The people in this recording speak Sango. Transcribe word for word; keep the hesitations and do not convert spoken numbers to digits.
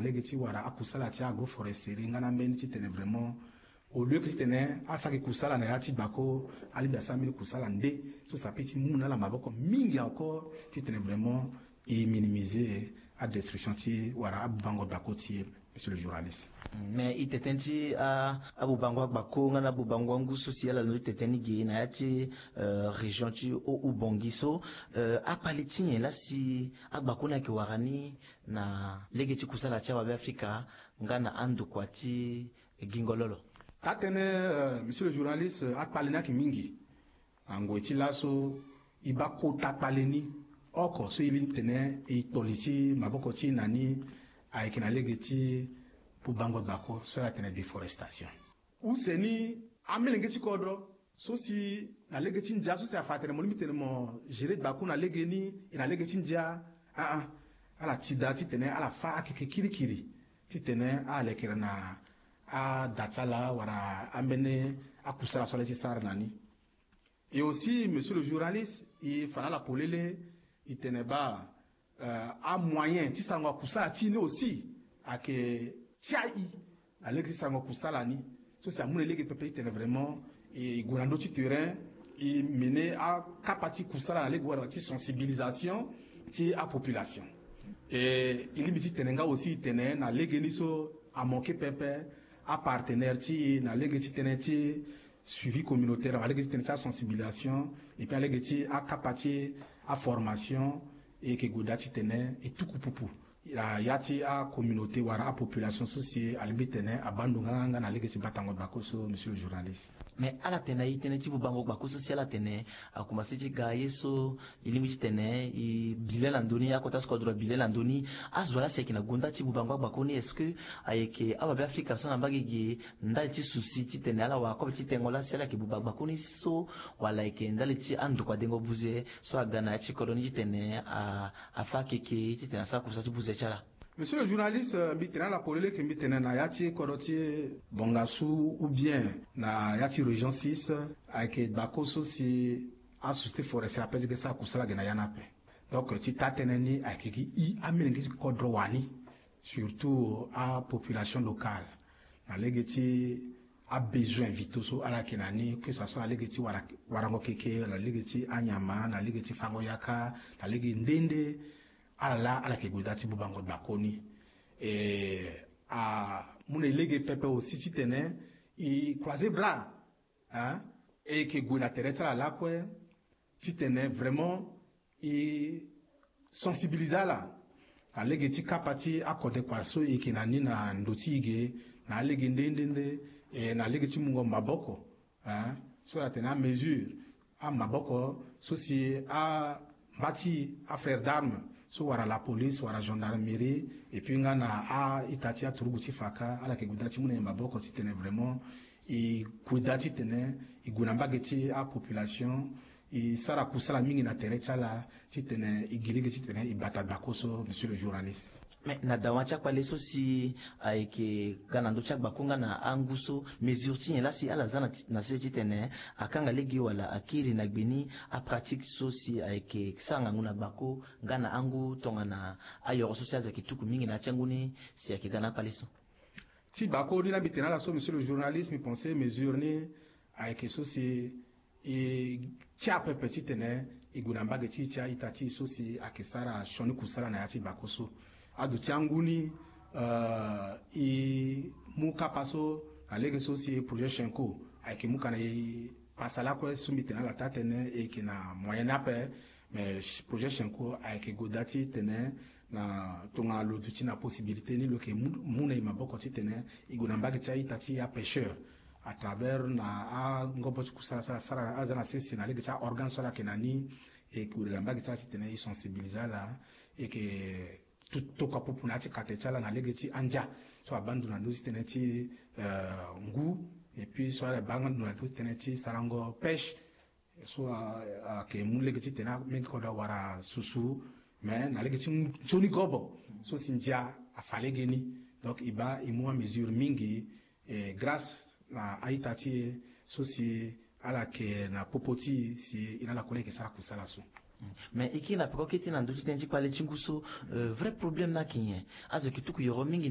lege ti wara akusala ti agroforesterie nga na ambeni titene vraiment au lieu ke titene asara gi kusala na ya ti gbako, alingbi asara mbeni kusala nde so si ape ti mu na ala maboko mingi encore titene vraiment e minimiser adestruction ti wala abubango gbako ti e. Monsieur le journaliste. Mais i tene ti abubango agbako nga na abubango angu so si ala londo ti tene ni ge na ya ti région ti haut-ubangi so, akpale ti nyen laa si agbako ni ayeke wara ni na lege ti kusala ti awabe afrika nga na andokua ti gingo lolo? Taa tënë, monsieur le journaliste, akpale ni ayeke mingi. Na ngoi ti laso e baa kota kpale ni oko so e lingbi tene e kpoli ti maboko ti e na ni ayeke na lege ti bubango gbako so ala tene déforestation. Use ni amelenge ti kodro so si na lege ti ndia so si afa atene mo lingbi tene mo gérer gbako na lege ni e na lege ti ndia, aa, ala ti daa titene ala fâ akeke kirikiri titene ala lekere na ada ti ala wala ambeni akusala so ala ye ti sara na ni. Et aussi monsieur le journaliste, e fa na ala polele, e tene baa amoyen ti sarango akusala ti e ni aussi ayeke ti ai na lege ti sarango kusala ni so si amu na e lege pepe titene vraiment e gue na ndö ti terrain, e mené akapa ti kusala na lege wala ti sensibilisation ti apopulation. E lingbi titene nga aussi e tene na lege ni so amanke pepe apartenaire ti e na lege ti tënë ti suivi communautaire, na lege ti tënë ti asensibilisation, et puis na lege ti akapa ti aformation. E yeke gue daa titene e tuku pupu na ya ti acommunauté wala apopulation so si alingbi tene abaa ndo nganganga na lege ti batango gbako so, monsieur le journaliste. Mais ala tene na e tënë ti bubango gbako so si ala tene akomanse ti ga ye so e lingbi titene e bi le na ndö ni, akota so kodro abi le na ndö ni. Azo laa si ayeke na gonda ti bubango agbako ni, est-ce que ayeke awabe afrika so na mbage ge ndali ti souci titene ala wara kobe ti tengo laa si ala yeke buba gbako ni so, wala ayeke ndali ti andokua dengo buze so aga na ya ti kodro ni titene afâ akeke titene asara kusala ti buze ti ala? Monsieur le journaliste, mbi tene na ala polele ke mbi tene na ya ti kodro ti bongasu ou bien na ya ti région six, ayeke gbako so si asociété forestière ape ti ge sara kusala ge na ya ni ape. Donc ti taa tënë ni ayeke gi i amilenge ti kodro wani, surtout apopulation locale, na lege ti abesoin vitaux so ala yeke na ni, que ça soit na lege ti wara, warango keke, na lege ti anyama, na lege ti fango yaka, na lege nde nde. Ala laa ala yeke gue daa ti bubango gbakoni. E amu na e lege pepe aussi titene e croiser bras, hein, e yeke gue na tere ti ala lakue titene vraiment e sensibiliser ala na lege ti kapa ti akode kua so e yeke na ni na ndo ti e ge, na alege nde nde nde, e na lege ti mungo maboko, hein, so ala tene amesure, amaboko so si amba ti afrère d'armes so wara la police wara gendarmerie, et puis nga na a-ita ti aturugu ti faka, ala yeke gue daa ti mu na e maboko titene vraiment e gue daa titene e gue na mbage ti apopulation, e sara kusala mingi na tere ti ala titene e gi lege titene e bata gbako so, monsieur le journaliste. Mais na dawa ti akpale so si ayeke ga na ndö ti agbako nga na angu so, mesure ti nyen laa si ala za na ti, na sese titene akanga lege wala akiri na gbe ni apratique so si ayeke sara ngangu na gbako nga na angu tongana ayoro so si azo ayeke tuku mingi na ya ti angu ni si ayeke ga na akpale so? Ti gbako ni laa mbi tene na ala so, monsieur le journaliste, mbi pense mesure ni ayeke so si e tia pepe titene e gue na mbage ti e ti a-ita ti e so si ayeke sara sioni kusala na ya ti gbako so. Aduti angu ni, euh, e mu kapa so na lege so si projet Chenco ayeke mu kana e pasa lakue so mbi tene na ala taa tënë, e yeke na moyen ni ape. Mais projet Chenco ayeke gue daa titene na tongana lo duti na possibilité ni, lo yeke mu, mu na e maboko titene e gue na mbage ti a-ita ti apêcheur à travers na angobo ti kusala so ala sara, aza na sese na lege ti aorgane so ala yeke na ni. E gue na mbage ti ala titene e sensibiliser ala, e yeke tu tokua pupu na ya ti kate ti ala na lege ti andia so abaa ndo na ndö ti tënë ti, euh, ngu, et puis so ala baa nga ndo na ndö ti tënë ti sarango pêche. So ayeke mu lege titene amenge kodro awara susu, mais na lege ti nzoni gobo so si ndia afa lege ni. Donc e baa e mu amesure mingi, e grâce na a-ita ti e so si ala yeke na popo ti e si e na ala kue laa e yeke sara kusala so. Mais e kiri na peko kete na ndö ti tënë ti kpale ti ngu so, euh, vrai problème ni ayeke nyen? Azo yeke tuku yoro mingi